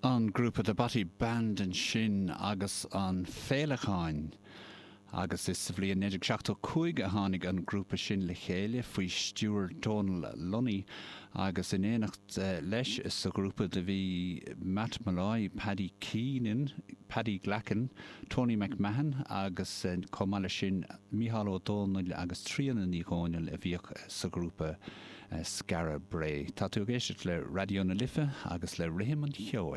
An grúpa The Bothy Band ansin agus an Féileacáin agus is sa bhliain 1975 a tháinig an grúpa sin le chéile faoi stiúir Dónal Lunny agus in éineacht leis sa ghrúpa do bhí Matt Molloy, Paddy Keenan, Paddy Glackin, Tony McMahon agus chomh maith leis sin Mícheál Ó Dónaill agus Tríona Ní Dhomhnaill a bhíodh sa ghrúpa. Skara Brae. Tá tú ag éisteacht le Raidió na Life agus le Rithim an Cheoil.